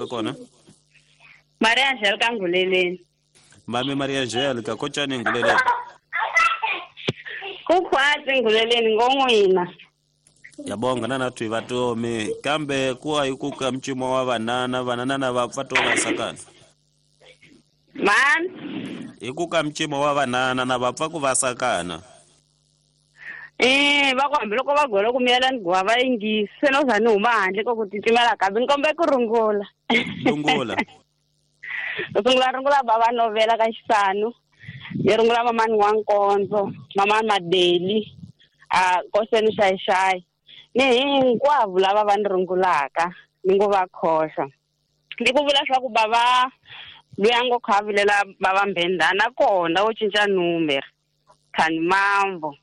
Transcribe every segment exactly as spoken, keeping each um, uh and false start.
ka kona? Maria Angelica Nguleleni. Mami Maria Angelica kotjani Nguleleni? Kukhwatsi Nguleleni ngongwina. Yabonga nana twi vatomi kambe kuwa ikuka mchimo wa vanana vanana va pfa sakana. Man ikuka mchimo wa vanana na va pfa ku va sakana. Eh va ku hambiloko va gola ku miyela ni guwa va yingisi se no za ni huma handle ko ku titimela kambe ni kombe ku rungula. Rungula. Ku sungula rungula bava novela ka xisanu. Ni rungula mamani wa Nkondzo, mamani Madeli, a koseni xayi xayi. Ni hinkwavo lava va ni rungulaka ni ngo va khoxa. Ni ku vula swa ku bava luya ngo khavilela bava mbendana kona wo cinca number. Khani mambo.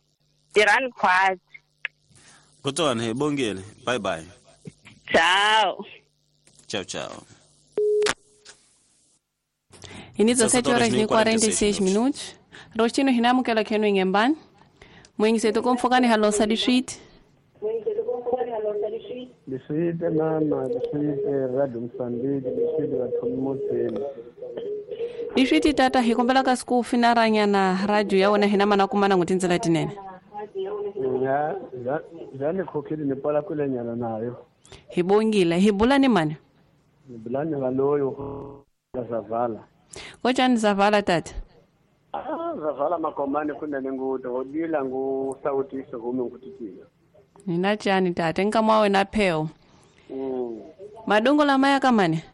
Tirhani khwatsi. Kutona hi bongile. Bye bye. Ciao. Ciao ciao. Ini dezessete horas e quarenta e seis minutos. Rostino hinamukela khenu ingembani. Mwingiseto komfokani halosa dishit. Dishit mama, dishit radio Msambiki, dishit vathomoteni. Dishit tata hikombela ka siku finaranya na radio ya wena hina mana kumana ngutindzela tinene. Ya, ya nikhokhile nipala kulenyana nayo. Hibongile, hibulani mani? Hibulani ngaloyo Zavala. Kotjani Zavala tata? Ah, Zavala makomane kunene nguto odila ngu sautiso hume ngutitia. Nina tjani tata nkamwa wena pheo. Mm. Madongo lamaya kamane?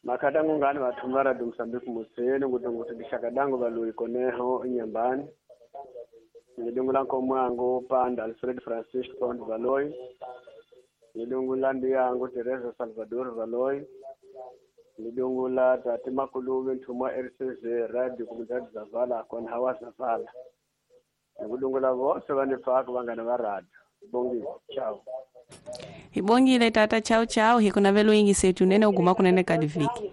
Makadango ngani vathumara dumsambiki museni nguto nguto dishakadango balui koneho inyambani. Ngidungula nkomwango Panda Alfred Francisco Pond Valoy. Ngidungula ndiyango Teresa Salvador Valoy. Ngidungula tati makuluwe nthuma R C Z radio kumdadi Zavala kona hawa Zavala. Ngidungula vose vanifaka vangana va radio. Bongile, ciao. Hibongile tata, ciao ciao. Hikunavelo ingi setu nene uguma kunene kadiviki.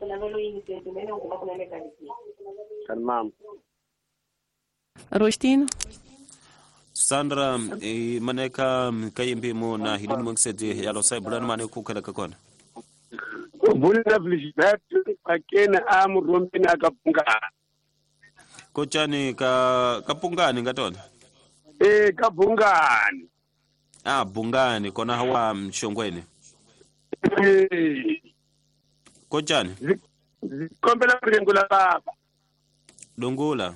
Kalmam. Rostino. Sandra e maneka kayimbi na hidini mwangseti ya losai bulani mane kukela kakona. Bulina Felicitatu akena amu rombeni akapungani. Kochani ka kapungani ngatona? Eh kapungani. Ah bungani kona hawa mshongweni. Eh. Kochani? Zikombela ringula baba. Dungula.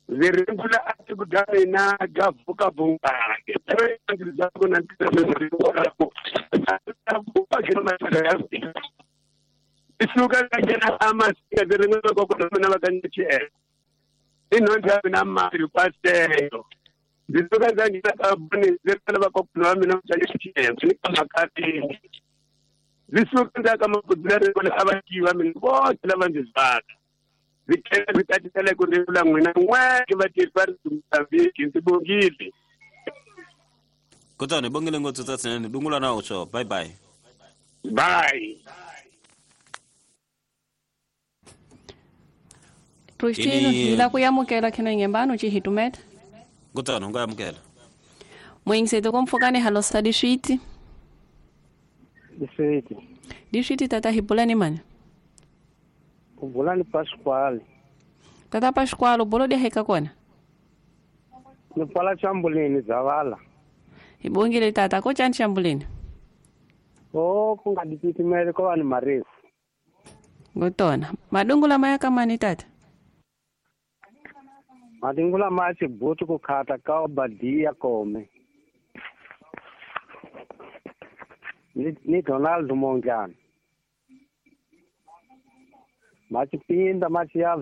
Zirengula atikugana gavuka bungani. Isuka kena amasika zirengula kokona bakanyche. Inonja mina mali paseo. Zisuka zangina kabuni zirengula bakokona mina mchanyche. Ni Zisuka ndaka makudira kona abakiwa mina bonke labanjizaka. Zikela zikatitele kurivula n'wina n'we vatirhi va Mozambique ndzi bongile. Kutani bongile ngopfu tsatsinene dungula na ucho. Bye bye. Bye. Rostino hila kuyamukela kheno ingembano chihitumeta. Kutani ungayamukela. Mwingiseto komfokane halosa dishiti. Dishiti. Dishiti tata hibulani mani? Ubulani Pasquale. Tata Pasquale, ubolo dia heka kona? Nipala chambulini Zavala. Ibongile tata, ko chani chambulini? Oh, kungadititimele ko vanhu marefu. Ngotona. Madungula maya kamani tata? Madungula maya chibutu kukhata ka Obadia kome. Ni, ni Donald Mongjana. Machipinda machiya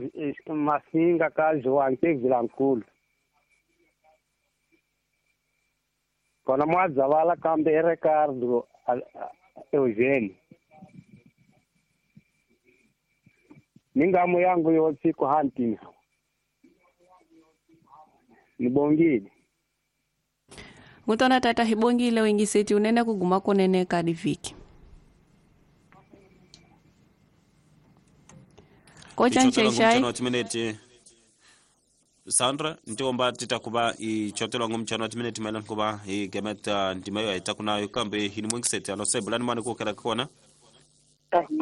masinga ka João Vilankulu. Kona mwazavala kambe Ricardo Eugênio. Ningamu yangu yonse kuhantina. Nibongile. Ngutona tata hibongile wengiseti unene kuguma kunene kadiviki. Kocha nchechai. Sandra ntiomba titakuba ichotelo ngumchano wa timineti maelana kuba igemeta ndimayo itakunayo kambe hini mwengiseti alose bulani mane kukela kona.